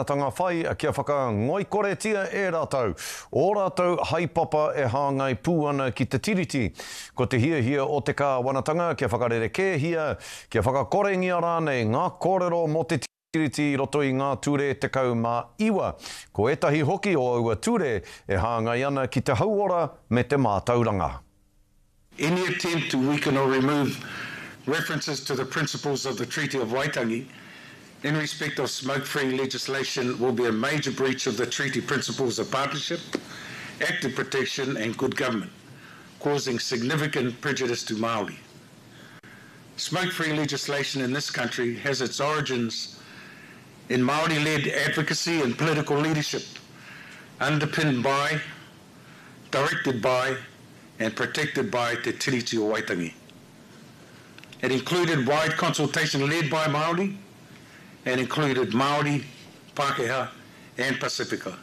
kāwanatanga whai kia whakangoikoretia e rātou ō rātou haepapa e hāngai pū ana ki te Tiriti. Ko te hiahia o te kāwanatanga kia whakarerekēhia, kia whakakorengia rānei ngā kōrero mō te Tiriti i roto i ngā ture 19. Ko ētahi hoki o aua ture e hāngai ana ki te hauora me te mātauranga. Any attempt to weaken or remove references to the principles of the Treaty of Waitangi in respect of smoke-free legislation will be a major breach of the treaty principles of partnership, active protection and good government, causing significant prejudice to Māori. Smoke-free legislation in this country has its origins in Māori-led advocacy and political leadership, underpinned by, directed by, and protected by Te Tiriti o Waitangi. It included wide consultation led by Māori and included Māori, Pākehā and Pasifika.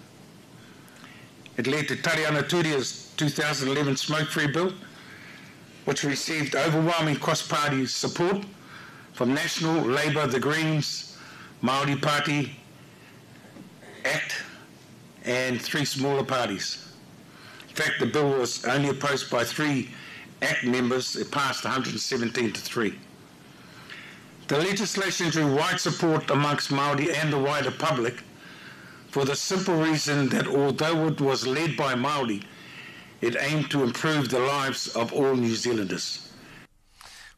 It led to Tariana Turia's 2011 Smoke-Free Bill, which received overwhelming cross-party support from National, Labour, the Greens, Māori Party, ACT and three smaller parties. In fact, the bill was only opposed by three ACT members. It passed 117 to 3. The legislation drew wide support amongst Māori and the wider public for the simple reason that although it was led by Māori, it aimed to improve the lives of all New Zealanders.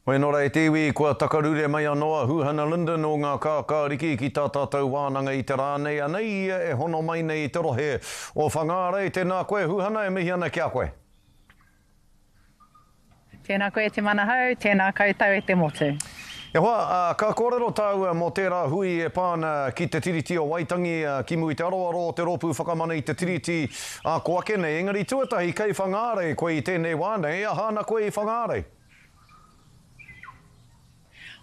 Hoi anō rā e te iwi, kua takarure mai anō a Huhana Lyndon o Ngā Kākāriki ki tā tātou wānanga i te rā nei, anei ia e hono mai nei i te rohe o Whangārei. Tēnā koe Huhana, e mihi ana ki a koe. Tēnā koe e Te Manahau, tēnā koutou e te motu. E hoa, ka kōrero tāua mō tērā hui e pā ana ki Te Tiriti o Waitangi, ki mua i te aroaro o te Rōpū Whakamana i Te Tiriti ā ko ake nei. Engari tuatahi, kei Whangārei koe i tēnei wā nei, aha ana koe i Whangārei?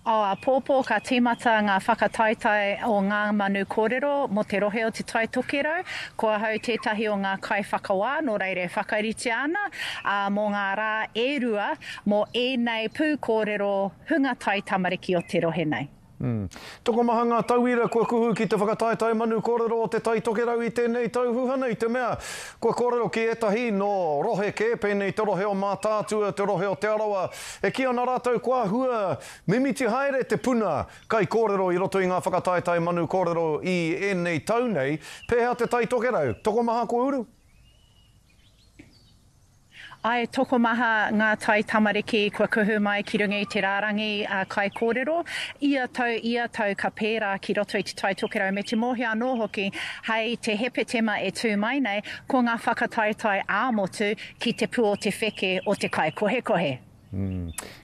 Ao āpōpō ka tīmata ngā whakataetae o Ngā Manu Kōrero mō te rohe o Te Tai Tokerau. Ko ahau tētahi o ngā kaiwhakawā, nō reira e whakaritea ana mō ngā rā e rua mō ēnei pūkōrero hunga taitamariki o te rohe nei. Tokomaha ngā tauira kua kuhu ki te whakataetae Manu Kōrero o Te Tai Tokerau i tēnei tau huhana i te mea kua kōrero ki ētahi nō rohe kē pēnei te rohe o Mātaatua, te rohe o Te Arawa, E kī ana rātou kua hua mimiti haere te puna kaikōrero i roto i ngā whakataetae manu kōrero i ēnei tau nei, pēhea te Tai Tokerau? Tokomaha kua uru? Ae, tokomaha ngā tai tamariki kua kuhu mai ki runga i te rārangi kaikōrero. Ia tau, ia tau ka pērā ki roto i te Tai Tokerau me te mōhio anō hoki hei te Hepetema e tū mai nei ko ngā whakataetae ā-motu Ki te pu o te wheke o te kaikohekohe.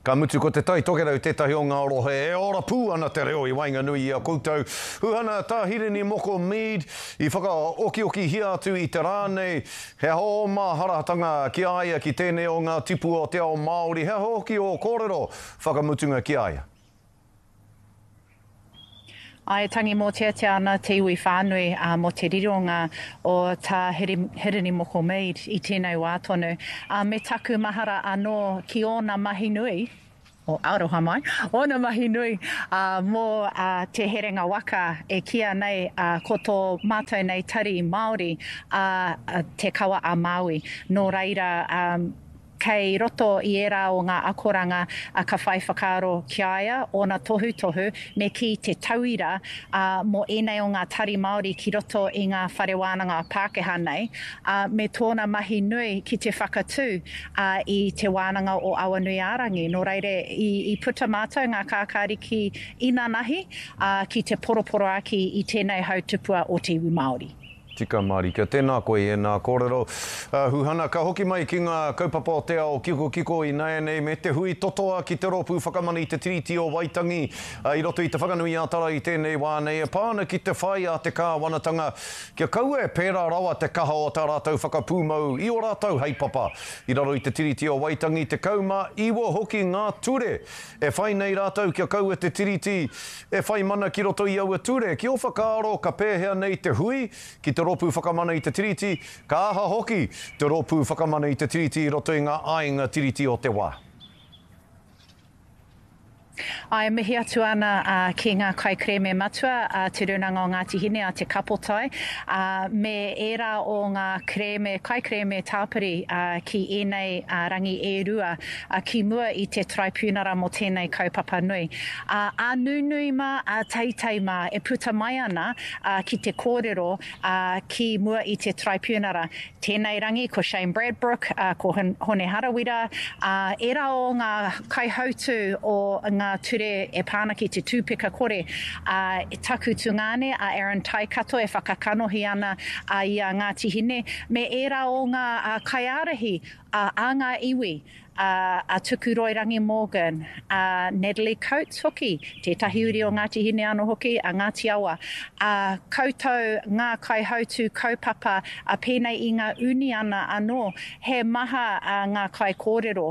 Ka mutu ko Te Tai Tokerau tētahi o ngā rohe e ora pū ana te reo i waenganui i a koutou. Huhana Tā Hirini Moko Mead i whakaokiokihia atu i te rā nei, he aha ō māharatanga ki a ia ki tēnei o ngā tipua o te ao Māori, he aha hoki ō kōrero whakamutunga ki a ia? Āe, tangi mōteatea ana te iwi whānui mō te rironga o Tā Hirini Moko Mead i tēnei wā tonu. Me taku mahara anō ki ōna mahi nui, o aroha mai, ōna mahi nui mō Te Herenga Waka e kīia nei ko tō mātou nei tari Māori a Te Kawa a Māui. Nō reira, Kei roto i ērā o ngā akoranga ka whai whakaaro ki a ia, ōna tohutohu, me kī te tauira mō ēnei o ngā tari Māori ki roto i ngā whare wānanga Pākehā nei, ā, me tōna mahi nui ki te whakatū i Te Wānanga o Awanuiārangi. Nō reira, i puta mātou ngā kākāriki inanahi ki te poroporoāki i tēnei hautupua o te iwi Māori. Tika mārika. Tēnā koe i ēnā kōrero. Huhana, ka hoki mai ki ngā kaupapa o te ao kikokiko ināianei me te hui totoa ki te Rōpū Whakamana i te Tiriti o Waitangi i roto i Te Whanganui-ā-Tara i tēnei wā nei e pā ana ki te whai a te kāwanatanga kia kaua e pērā rawa te kaha o tā rātou whakapūmau i ō rātou heipapa i raro i te Tiriti o Waitangi 19 hoki ngā ture e whai nei rātou kia kaua te Tiriti E whai mana ki roto i aua ture, ki ō whakaaro ka pēhea nei te hui ki te Rōpū Whakamana i te Tiriti, ka aha hoki te Rōpū Whakamana i te Tiriti i roto i ngā āinga Tiriti o te wā? Āe, mihi atu ana ki ngā kaikerēme matua a Te Rūnanga o Ngāti Hine, a Te Kapotai, ā, me ērā o ngā kerēme, kaikerēme tāpiri ki ēnei rangi e rua ki mua i te Taraipiunara mō tēnei kaupapa nui. Ā, ā nunui mā, ā teitei mā e puta mai ana ki te kōrero ki mua i te Taraipiunara. Tēnei rangi ko Shane Bradbrook, ko Hone Harawira, ā, ērā o ngā kaihautū o ngā ture e pā ana ki te tūpeka kore, ā, taku tungāne a Aaron Taikato e whakakanohi ana i a Ngāti Hine, me ērā o ngā kaiārahi a ngā iwi, a a Tukuroirangi Morgan, a Natalie Coates hoki, tētahi uri o Ngāti Hine anō hoki, a Ngāti Awa, a koutou ngā kaihautū kaupapa a pēnei i ngā uniana anō, he maha ngā kaikōrero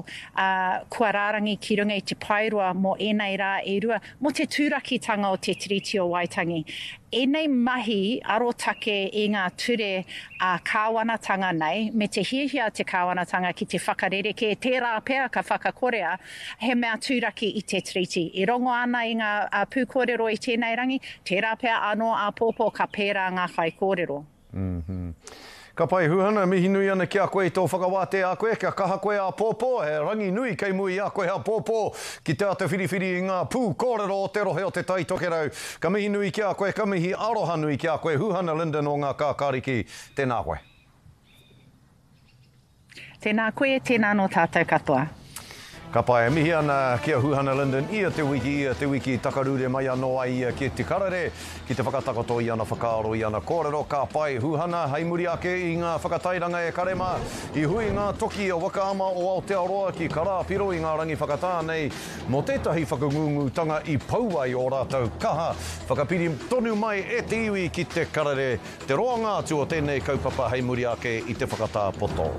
kua rārangi ki runga i te paeroa mō ēnei rā e rua, mō te turakitanga o te Tiriti o Waitangi. Ēnei mahi arotake i ngā ture ā-kāwanatanga nei, me te hiahia a te kāwanatanga ki te whakarerekē, tērā pea ka whakakorea, he mea turaki i te Tiriti. I rongo ana i ngā pūkōrero i tēnei rangi, tērā pea anō āpōpō ka pērā ngā kaikōrero. Ka pai Huhana, mihi nui ana ki a koe i tō whakawātea a koe, kia kaha koe āpōpō, he rangi nui kei mua i a koe āpōpō ki te āta whiriwhiri i ngā pū kōrero o te rohe o Te Tai Tokerau. Ka mihi nui ki a koe, ka mihi aroha nui ki a koe Huhana Lyndon o Ngā Kākāriki, tēnā koe. Tēnā koe, tēnā anō tātou katoa. Ka pai, e mihi ana ki a Huhana Lyndon ia te wiki, ia te wiki, takarure mai anō ai ia ki Te Karere, ki te whakatakoto i ana whakaaro, i ana kōrero. Ka pai, Huhana, hei muri ake i ngā whakatairanga e kare mā, i hui ngā toki a Waka Ama o Aotearoa ki Karāpiro i ngā rangi whakatā nei mō tētahi whakangūngūtanga i pau ai ō rātou kaha. Whakapiri tonu mai e te iwi ki Te Karere Te roanga atu o tēnei kaupapa hei muri ake i te whakatā poto.